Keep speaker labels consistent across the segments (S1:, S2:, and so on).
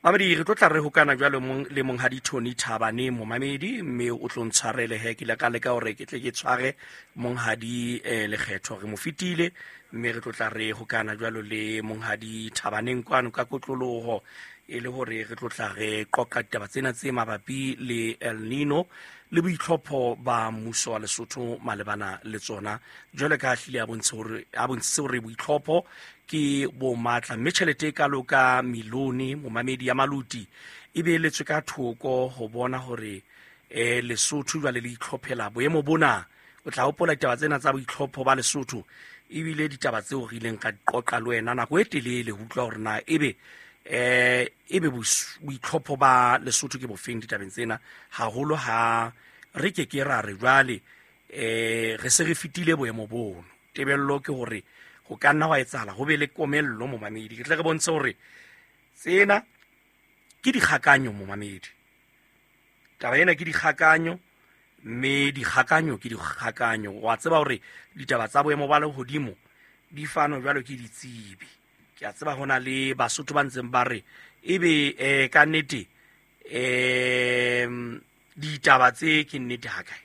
S1: Mamedi, re tlo tla re hokana jwalo mong le monghadi Tony Thabane momamedi, mme o tlo ntshwarele he ke ile ka leka hore ke tle ke tshware monghadi Lekgetho, re mo fetile, mme re tlo tla re hokana jwalo le monghadi Thabaneng kwano ka kotloloho, e le hore re tlo tla re qoqa ditaba tsena tse mabapi le El Nino le boitlhopho ba mmuso wa Lesotho malebana le tsona. Jwale ka hlile a bontshitse hore boitlhopho ke bo matla, mme tjhelete e kalo ka milione momamedi ya maluti e beeletswe ka thoko ho bona hore Lesotho jwale le itlhophela boemo bona. O tla hopola ditaba tsena tsa boitlhopho ba Lesotho, ebile ditaba tseo re ileng ka qoqa le wena nako e telele ho utlwa hore na ebe ebe boitlhopho ba Lesotho ke bofeng ditabeng tsena, haholo ha re ke ke ra re jwale re se re fetile boemo bono. Tebello ke hore ho ka nna hwa etsahala ho be le komello momamedi. Ke tle re bontshe hore tsena ke dikgakanyo momamedi, taba ena ke dikgakanyo, mme dikgakanyo ke dikgakanyo. Wa tseba hore ditaba tsa boemo ba lehodimo di fanwa jwalo ke ditsebi. Ke a tseba hona le Basotho ba ntseng ba re ebe ka nnete ditaba tse ke nnete ha kae,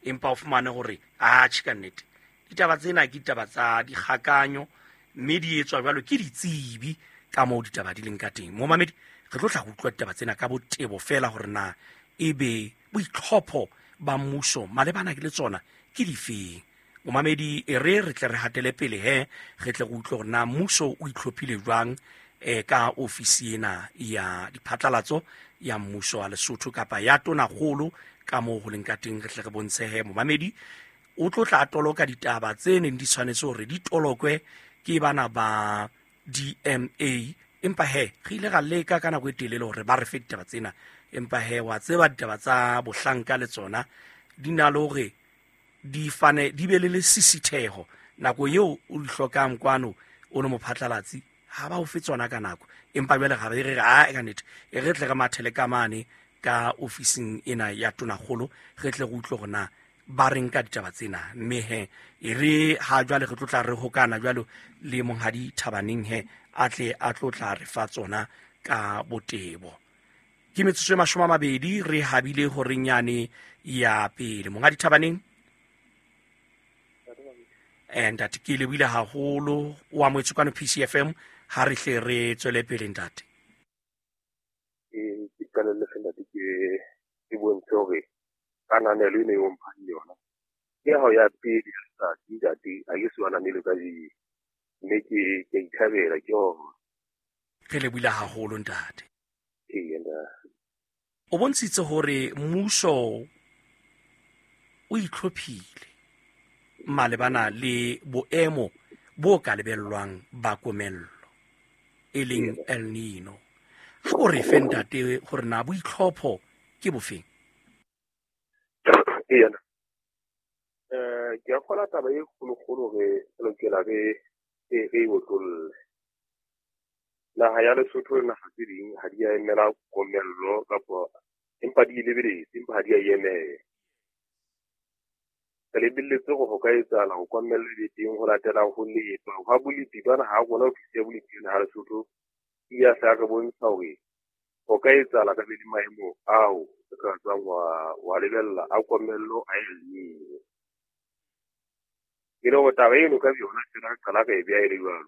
S1: empa o fumane hore atjhe ka nnete ditaba tsena ke ditaba tsa dikgakanyo, mme di etswa jwalo ke ditsebi ka moo ditaba di leng ka teng. Momamedi, re tlo tla go utlwa ditaba tsena ka botebo fela hore na ebe boitlhopho ba mmuso malebana le tsona ke difeng. Momamedi, e re re tle re hatele pele he, re tle re utlwe hore na mmuso o itlhophile jwang ka ofisi ena ya diphatlalatso ya mmuso wa Lesotho kapa ya tonakgolo ka moo ho leng ka teng. Re tle re bontshe he momamedi o tlo tla toloka ditaba tse neng di tshwanetse hore di tolokwe ke bana ba DMA, empa he re ile ra leka ka nako e telele hore ba re fe ditaba tsena, empa he wa tseba ditaba tsa bohlanka le tsona di na le hore di fane di be le lesisitheho nako eo o di hlokang kwano o le mophatlalatsi, ha ba o fe tsona ka nako. Empa jwale ga re re a ka nnete e re tle re mathele ka mane ka ofising ena ya tonakgolo, re tle re utlwe hore na ba reng ka ditaba tsena. Mme he e re ha jwale re tlo tla re hokana jwalo le monghadi Thabaneng he a tle a tlo tla re fa tsona ka botebo. Ke metsotso e 20 re habile horeng yane ya pele. Monghadi Thabaneng, ntate ke lebohile haholo, o amohetswe kwano PCFM. Ha re hle re tswele pele ntate.
S2: Ke qalelle fela ntate, ke bontshe hore kananelo eno eo mphang yona ke hao ya pele ya letsatsi ntate, ha ke so ananele kajeno, mme ke a ithabela ke hona.
S1: Re lebohile haholo ntate.
S2: Ee, ntate.
S1: O bontshitse hore mmuso o itlhophile malebana le boemo bo ka lebellwang ba komello e leng El Nino. Ha o re fe ntate hore na boitlhopho ke bofeng?
S2: Ee, ke a kgolwa taba e kgolokgolo re lokela re e otlolle. Naha ya Lesotho le naha tse ding ha di a emela komello kapa empa di e lebeletse, empa ha di a e emela. Re lebelletse hore ho ka etsahala hore komello e be teng ho latela ho lepa hwa bolepi ba naha ya rona, ofisi ya bolepi ya naha ya Lesotho e ya hla re bontsha hore ho ka etsahala ka be le maemo ao re ka tswang wa lebella a komello a El Nino. E le hore taba eno ka yona fela re qala re e beha e le jwalo,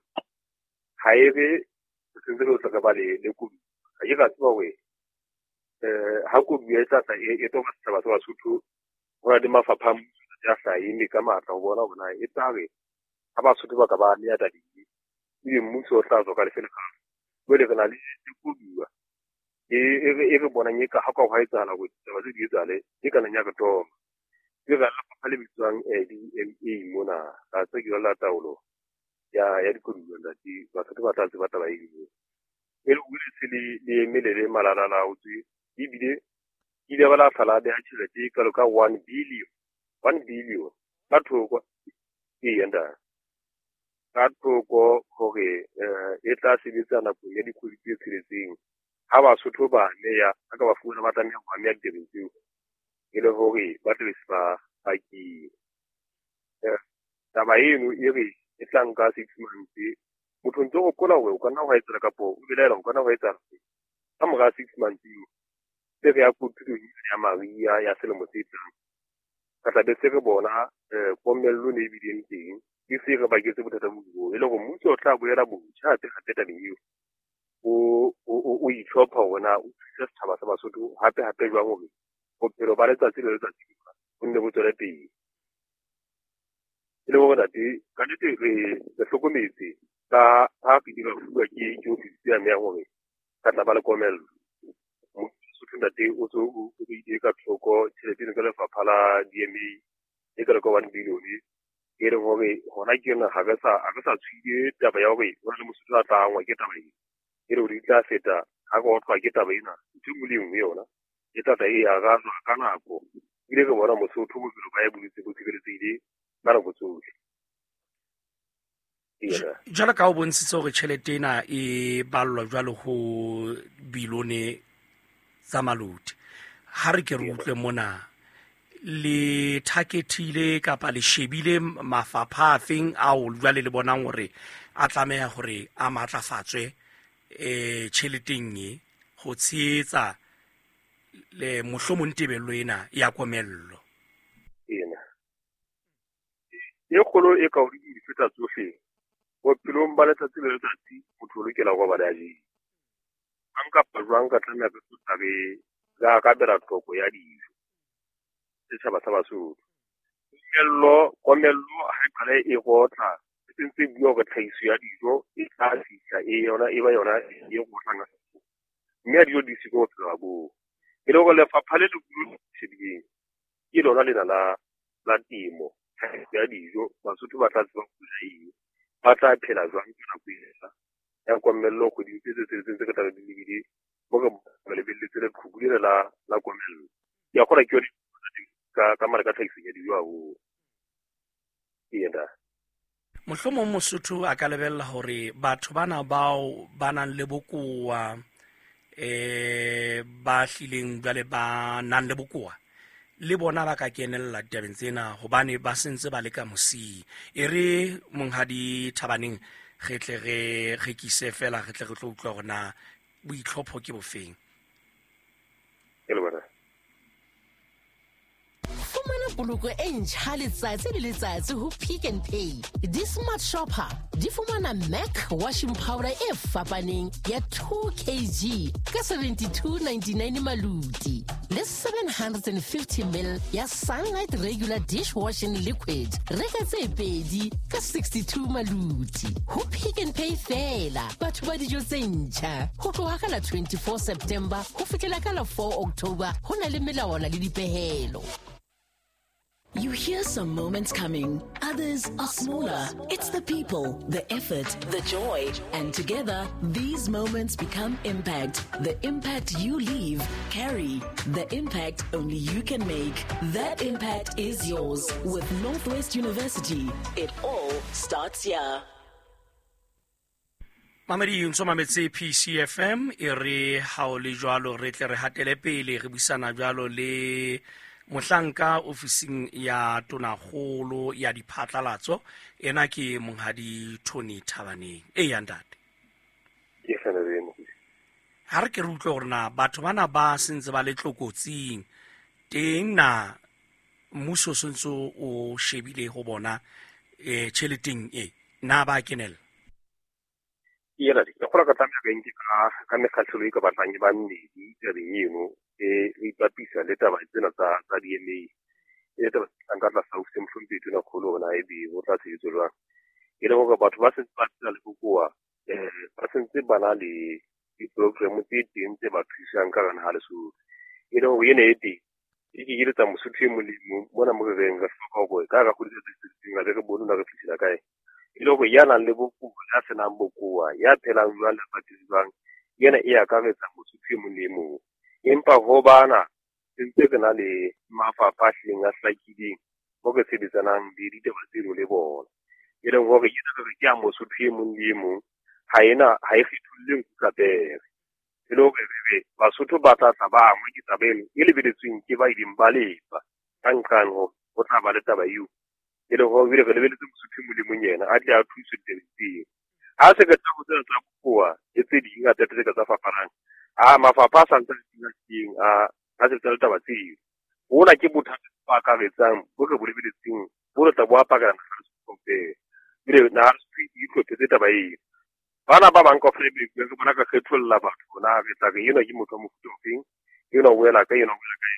S2: ha e re re sentse re tla ba le koduwa. Ha ke ra tseba hore ha koduwa e tla tla e toba setjhaba sa Basotho, ho na le mafapha a mmuso a sa eme ka matla ho bona hore na e tla re ha Basotho ba ka ba ameha tabeng e, ebe mmuso o tla tswa ka lefe lekgalo. Jwale re na le koduwa e re bonang e ka ha ka hwa etsahala hore ditaba tse di etsahale, e ka nang ya re toma. Ke ra lefapha le bitswang DMA mona, ra tseba ke la taolo ya dikoduwa ntate, Basotho ba tla tseba taba eno. E le hore se le eme le le malalalaotswe, ebile ile ba la tlhala beha tjhelete e kalo ka 1 billion, 1 billion ka thoko, ee ntate, ka thoko hore e tla sebetsa nakong ya dikgwedi tse tsheletseng. Ha Basotho ba ameha, ha ka ba fumana ba tlameha ho ameha ditabeng tseo, e le hore ba tle be se ba pakile. Taba eno e re e tla nka 6 months. Motho ntse o hopola hore o ka nna hwa etsahala kapo o belaela o ka nna hwa etsahala. Ka mora 6 months eo se re ya kotulong ya mariha ya selemo se tlang, re tla be se re bona komello ne e bileng teng e se re baketse bothata bo bo, e le hore mmuso o tla boela botjha hape hape tabeng eo, o itlhopha hore na o thusa setjhaba sa Basotho hape hape jwang hore bophelo ba letsatsi le letsatsi bo nne bo tswele pele. E le hore ntate, ka nnete re hlokometse ka ha re ile ra fuwa ke ofisi ya meya hore ka tla ba le komello. Mosotho, ntate, o tso o beile ka thoko tjhelete eno ka lefapha la DMA e ka ka 1 billion, e leng hore hona ke yona ha re sa tshwile taba ya hore ho na le Mosotho a tla angwa ke taba ena, e le hore di tla feta ha re otlwa ke taba ena. Ntho e nngwe le e nngwe yona e tla tla e arajwa ka nako, ebile re bona Mosotho bophelo ba e boletse bo tshireletsehile ka nako tsohle.
S1: Jwalo ka o bontshitse hore tjhelete ena e ballwa jwalo ho bilone tsa maloti, ha re ke re utlwe mona, le targetile kapa le shebile mafapha a feng ao jwale le bonang hore a tlameha hore a matlafatswe tjheleteng e ho tshehetsa le mohlomong tebello ena ya komello?
S2: Ena e kgolo e ka hodimo di feta tsohle bophelong ba letsatsi le letsatsi, motho o lokela ho robala a jele. Jwang kapa jwang ka tlameha re tlotla re arabela tlhoko ya dijo setjhaba sa Basotho. Komello ha e qale e rotla, e sentse e bua hore tlhahiso ya dijo e tla fihla e yona e ba yona e rotlang, mme ha dijo di siko bophelo ba boo. E le hore lefapha le leholo shebileng ke lona lena la temo, tlhahiso ya dijo. Basotho ba tla tseba ho ja eng, ba tla phela jwang ka nako ena ya komello kgweding tse tse tsheletseng tse re tla be di lebile mo re lebelletse leqhubu lena la komello. Ke a kgolwa ke yone ka mare ka tlhahiso ya dijo haholo ena.
S1: Mohlomong Mosotho a ka lebella hore batho bana bao ba nang le bokowa, ba hlileng jwale ba nang le bokowa, le bona ba ka kenella ditabeng tsena hobane ba sentse ba le ka mosing. E re monghadi Thabaneng re tle re rekise fela, re tle re tlo utlwa hore na boitlhopho ke bofeng.
S2: Ke le bona.
S3: Fumana poloko e ntjha letsatsi le letsatsi ho Pick n Pay. Di-Smart Shopper di fumana Mac washing powder e fapaneng ya 2 kg ka 72.99 maluti, le 750 ml ya Sunlight regular dishwashing liquid, reka tse pedi ka 62 maluti. Ho Pick n Pay fela, batho ba dijo tse ntjha. Ho tloha ka la 24 September ho fihlela ka la 4 October, ho na le melawana le dipehelo.
S4: You hear some moments coming, others are smaller. It's the people, the effort, the joy. And together, these moments become impact. The impact you leave, carry. The impact only you can make. That impact is yours with Northwest University. It all starts here.
S1: Mamedi, ntso mametse PCFM. E re ha o le jwalo re tle re hatele pele re buisana jwalo le mohlanka ofising ya tonakgolo ya diphatlalatso, ena ke monghadi Tony Thabaneng. E ya ntate.
S2: Ke fela eno.
S1: Ha re ke re utlwe hore na batho bana ba sentse ba le tlokotsing teng, na mmuso o sentse o shebile ho bona tjheleteng e na ba kenella?
S2: Ena ke kgolwa ka tlameha re nke ka mekgahlelo e ka batlang e ba mmedi tabeng eno, e re ipapisa le taba tsena tsa DMA, e le taba tse tlang ka tlasa ofisi ya mohlomphehi tonakgolo, hore na ebe ho tla sebetswa jwang. E le hore batho ba sentse ba phela le bokowa, ba sentse ba na le di-program tse teng tse ba thusang ka hare naha Lesotho. E le hore ena e teng e kenyelletsa Mosotho e mong le mong mona mo re reng re hloka hore ka hara kgwedi tse tsheletseng re be re bone na re fihlela kae. E le hore ya nang le bokowa, ya senang bokowa, ya phelang jwang lefatsheng jwang, ena e akaretsa Mosotho e mong le e mong. Empa ho bana sentse re na le mafapha a hlileng a hlakileng mo re sebetsanang le ditaba tseno le bona, e leng hore ena re re ke ya Mosotho e mong le e mong, ha ena ha e kgetholle nku ka pere. E le hore re re Basotho ba tla tla ba angwa ke taba eno e lebeletsweng ke ba ileng ba lefa ka nqane hore ho tla ba le taba eo, e leng hore ebile re lebeletse Mosotho e mong le mong yena a tle a thuswe ditabeng tseo. Ha se re tla ho tsena tsa bokowa le tse ding ngata tse ka tsa fapanang, A mafapha a santse a teng a sebetsa le taba tseo. Hona ke bothata bo akaretsang bo re bo lebeletseng bo re tla bo apakela naha kaofela. Ebile naha e itlhophetse taba eo. Bana ba bang kaofela ebile re bona ka kgetholla batho na re tla re enwa ke motho wa mofuta ofeng, enwa o wela kae, enwa o wela kae.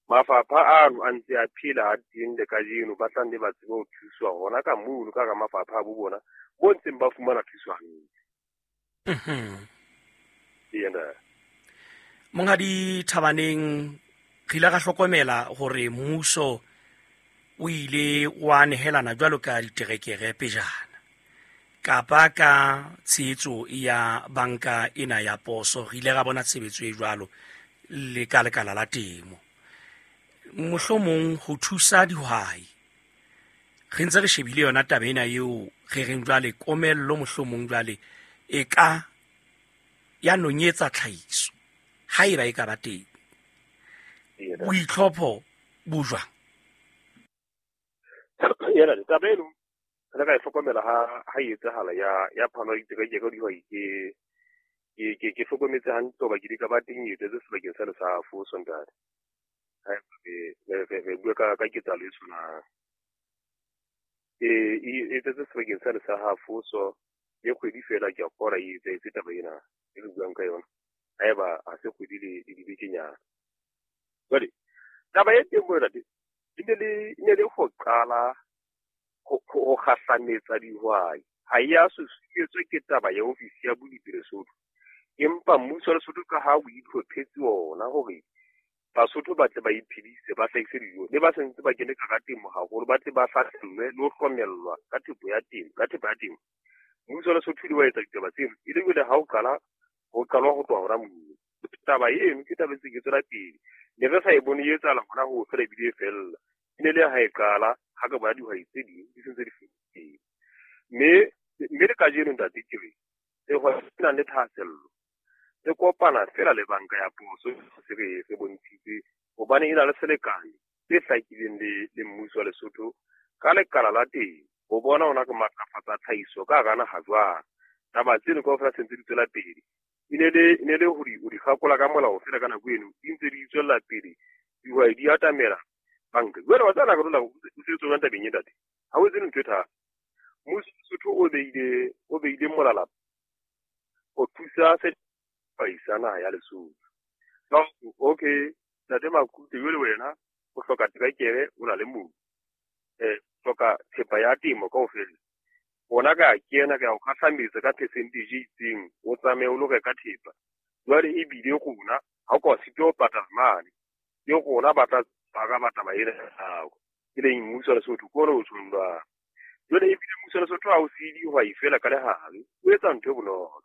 S2: Mafapha ano a ntse a phela a teng le kajeno, ba tla nne ba tsebe ho thuswa hona ka mono ka hara mafapha a bo bona bo ntseng ba fumana thuso hantle. Ena.
S1: Monghadi Thabaneng, re ile ra hlokomela hore mmuso o ile wa nehelana jwalo ka diterekere pejana kapa ka tshehetso ya banka ena ya poso. Re ile ra bona tshebetso e jwalo le ka lekala la temo, mohlomong ho thusa dihwai. Re ntse re shebile yona taba ena eo re reng jwale komello mohlomong jwale e ka ya nonyetsa tlhahiso haeba e ka ba teng. Boitlhopho bo jwang?
S2: Yena taba eno re ka e hlokomela ha e etsahala ya phano ya diterekere ka dihwai. Ke hlokometse hantle hoba ke di ka ba teng e etsetse sebakeng sa Lesafo sontate. Re bua ka ketsahalo e tshwanang. E etsetse sebakeng sa Lesafo, so le kgwedi fela ke a kgora e etsahetse taba ena e re buang ka yona. Haeba ha se kgwedi le dibekenyana. Jwale taba e teng mo ntate e ne le ho qala ho kgahlametsa dihwai. Ha e ya susumetswe ke taba ya ofisi ya bolipi Lesotho, empa mmuso wa Lesotho ka ha o itlhophetse ona hore Basotho ba tle ba iphedise, ba hlahise dijo, le ba sentse ba kene ka temo haholo, ba tle ba hlahlellwe le ho hlomellwa ka thepa ya temo. Mmuso wa Lesotho o ile wa etsa ditaba tseno, e le jwale ha o qala ho qalwa ho tloha hona moo. Taba eno ke taba e ntse ke tswela pele. Ne re sa e bone e etsahala hona ho fela ebile e fella. E ne le ha e qala ha ka bona dihwai tse ding di sentse di fedile. Mme le kajeno ntate ke re sehwai se nang le thahasello se kopana fela le banka ya poso, se re se bontshitse hobane e na le selekane se hlakileng le mmuso wa Lesotho ka lekala la teng ho bona hona ke matlafatsa tlhahiso ka hara naha jwang. Taba tseno kaofela se ntse di tswela pele. E ne le ho di kgakola ka molao fela ka nako eno di ntse di tswella pele, dihwai di atamela banka. Jwale wa tseba nako o sebetsa jwang tabeng e ntate? Ha o etse ntho e thata. Mmuso wa Lesotho o beile molala ho thusa sehwai sa naha ya Lesotho. Okay, ntate Makute, jwale wena o hloka terekere, o na le mobu, hloka thepa ya temo kaofela. Bona ka kena ka o kgahlametsa ka percentage e itseng, o tsamaye o lo reka thepa. Jwale ebile rona ha o ka sitwa ho patala mane, ke rona ba tla ba taba ena ya hao, e leng mmuso wa Lesotho ke ona o tjhong jwalo. Jwale ebile mmuso wa Lesotho ha o siye dihwai fela ka lehare, o etsa ntho e bonolo.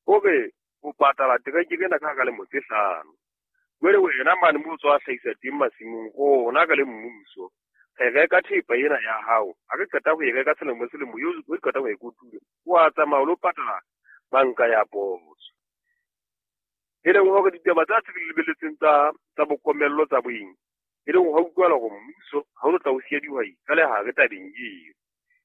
S2: O re o patala terekere ena ka hara lemo tse 5. Jwale wena mane moo o tswa hlahisa teng masimong, rona ka le mmuso re reka thepa ena ya hao. Ha re qeta ho e reka selemo le selemo, eo o qeta ho e kotula, o a tsamaya o lo patala banka ya poso. E leng hore ditaba tsa tse re lebeletseng tsa bokomello tsa boeng, e leng ho utlwala hore mmuso ha o tla o siya dihwai ka lehare tabeng eo,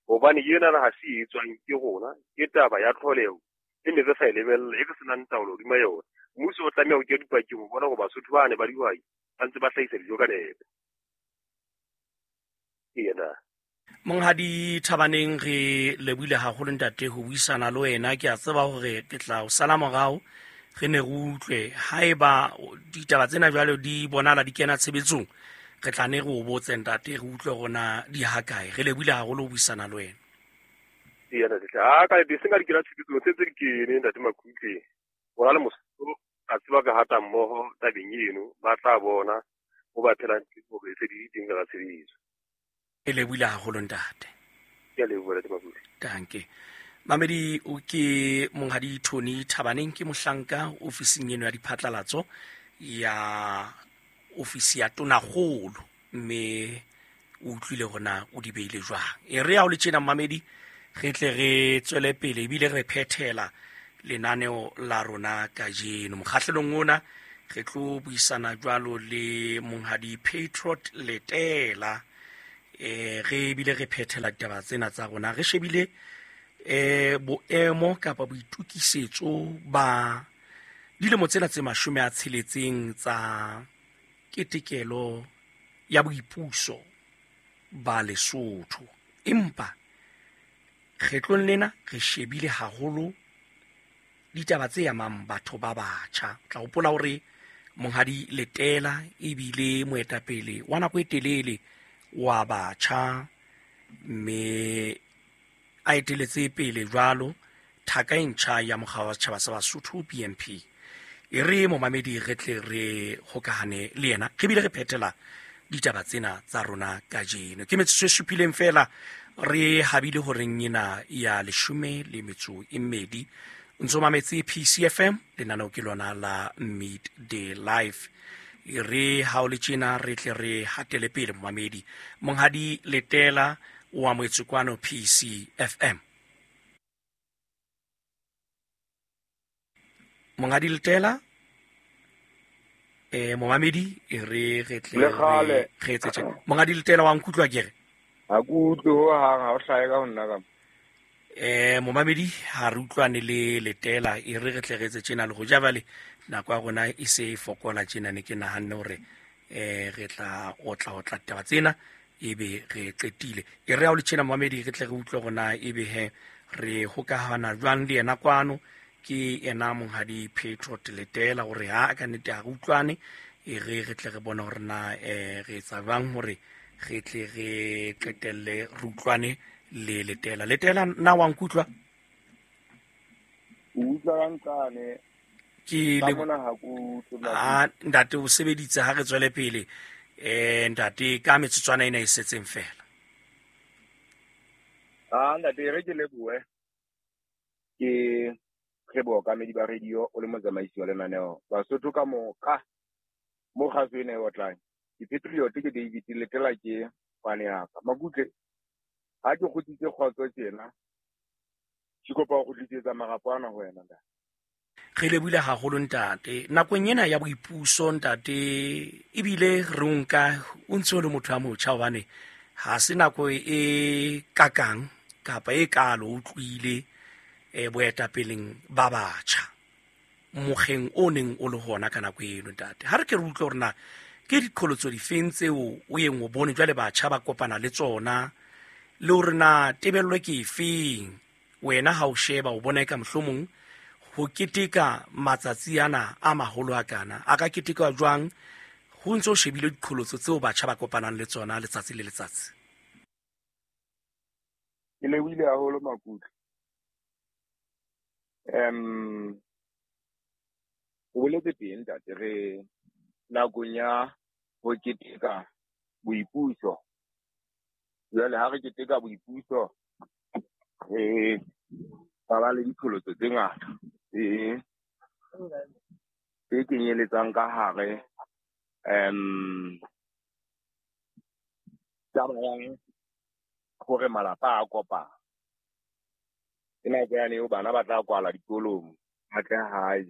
S2: hobane ena ha se e etswang ke rona, ke taba ya tlholeho e ne re sa e lebella, e re senang taolo hodima yona. Mmuso o tlameha ho kenya dipakeng ho bona hore Basotho ba ne ba dihwai ba ntse ba hlahisa dijo ka nepo. Yena.
S1: Monghadi Thabaneng, re lebohile haholo ntate ho buisana le wena. Ke a tseba hore ke tla o sala morao, re ne re utlwe haeba ditaba tsena jwale di bonala di kena tshebetsong, re tla ne re o botse ntate, re utlwe hore na di hakae. Re lebohile haholo ho buisana le wena.
S2: Yena tla ka di senga di kena tshebetsong tse tse di kene ntate Makutle. Bona le Mosotho a tseba ka hata mmoho tabeng eno, ba tla bona ho ba phelang hore se di teng ka tshebetso.
S1: E lebohile haholo ntate.
S2: Ke a leboha ntate Makutle.
S1: Danke. Mamedi, o ke monghadi Tony Thabaneng, ke mohlanka ofising eno ya diphatlalatso ya ofisi ya Tonakgolo, mme o utlwile hore na o di beile jwang. E re ya ho le tjena mamedi, re tle re tswele pele ebile re phethela lenaneo la rona kajeno. Mokgahlelong ona re tlo buisana jwalo le monghadi Patriot Letela. Re bile re phethela ditaba tsena tsa rona, re shebile boemo kapa boitukisetso ba Dilemo tsena tse 60 tsa ketekelo ya boipuso ba Lesotho. Empa kgetlong lena re shebile haholo ditaba tse amang batho ba batjha. Tla hopola hore Monghadi Letela ebile moetapele wa nako e telele wa batjha, mme a eteletse pele jwalo thaka e ntjha ya mokga wa setjhaba sa Basotho BNP. E re momamedi re tle re hokahane le yena, re bile re phethela ditaba tsena tsa rona kajeno. Ke metsotso e supileng fela re habile horeng ena ya 12. Ntso mametse PCFM, lenaneo ke lona la Midday Life. E re ha o le tjena re tle re hatele pele momamedi. Monghadi Letela o amohetswe kwano PCFM. Monghadi Letela, momamedi e re re tle re etse tjena. Monghadi Letela wa nkutlwa ke re?
S5: Ha ke utlwe ho hang, ha o hlahe ka ho nna ka.
S1: Momamedi ha re utlwane le Letela, e re re tle re etse tjena le ho ja jwale nako ya rona e se e fokola tjena, ne ke nahanne hore re tla otla taba tsena ebe re qetile. E re ha o le tjena momamedi re tle re utlwe rona ebe he re hokahana jwang le yena kwano. Ke yena Monghadi Patriot Letela hore ha ka nnete ha re utlwane, e re re tle re bone hore na re etsa jwang hore re tle re qetelle re utlwane le Letela. Letela, na wa nkutlwa?
S5: O utlwa ka nqane.
S1: Ke le
S5: mona ha ke utlwe.
S1: Ntate o sebeditse, ha re tswele pele. Ntate ka metsotswana ena e setseng fela.
S5: Ntate re ke lebohe. Ke re bookamedi ba radio o le motsamaisi wa lenaneo. Basotho ka moka mo kgaso ena e otlang. Ke Patriot ke David Letela ke pane ya ka. Makutle ha ke kgutlitse kgotso tjena, ke kopa ho kgutlisetsa marapo ana ho wena ntate.
S1: Re lebohile haholo ntate. Nakong ena ya boipuso ntate, ebile re o nka o ntse o le motho a motjha, hobane ha se nako e kakang kapa e kalo o utlwile boetapeleng ba batjha mokgeng o neng o le hona ka nako eno ntate. Ha re ke re utlwe hore na ke diqholotso difeng tseo o yeng o bone jwale batjha ba kopana le tsona, le hore na tebello ke efeng wena ha o sheba o bona eka mohlomong ho keteka matsatsi ana a maholo a kana a ka keteka jwang ho ntse o shebile diqholotso tseo batjha ba kopanang le tsona letsatsi le letsatsi?
S5: Ke lebohile haholo Makutle. O boletse teng ntate, re nakong ya ho keteka boipuso. Jwale ha re keteka boipuso re ba le diqholotso tse ngata tse kenyeletsang ka hare taba ya hore malapa a kopana. Ke nako yane eo bana ba tla kwala dikolong, ba tle hae,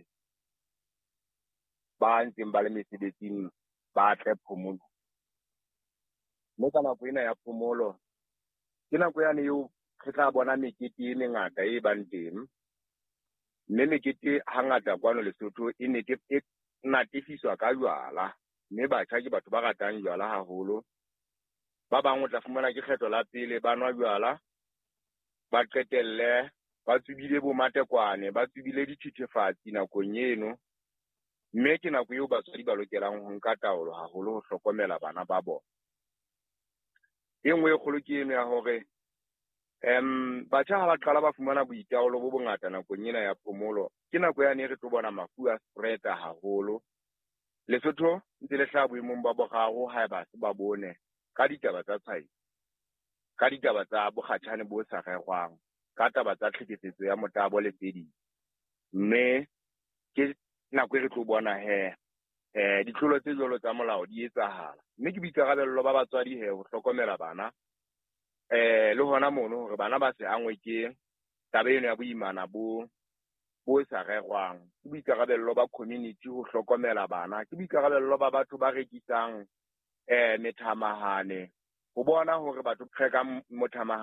S5: ba ntseng ba le mesebetsing ba tle phomolo. Mme ka nako ena ya phomolo ke nako yane eo re tla bona mekete e mengata e bang teng. Mme mekete hangata kwano Lesotho e e natefiswa ka jwala, mme batjha ke batho ba ratang jwala haholo. Ba bang o tla fumana ke kgetlo la pele ba nwa jwala, ba qetelle ba tsubile bo matekwane, ba tsubile dithethefatsi nakong eno. Mme ke nako eo batswadi ba lokelang ho nka taolo haholo ho hlokomela bana ba bona. E nngwe e kgolo ke eno ya hore batjha ha ba qala ba fumana boitaolo bo bongata nakong ena ya phomolo, ke nako yane re tlo bona mafu a spread-a haholo. Lesotho ntse le hlaha boemong ba boraro haeba se ba bone ka ditaba tsa tshwaetso, ka ditaba tsa bokgatjhane bo sa rerwang, ka taba tsa tlhekefetso ya motabo le tse ding. Mme ke nako e re tlo bona he ditlolo tse jwalo tsa molao di etsahala. Mme ke boikarabello ba batswadi he ho hlokomela bana, le hona mono hore bana ba se angwe ke taba eno ya boimana bo sa rerwang. Ke boikarabello ba community ho hlokomela bana, ke boikarabello ba batho ba rekisang methamahane ho bona hore batho ba rekang mothamahane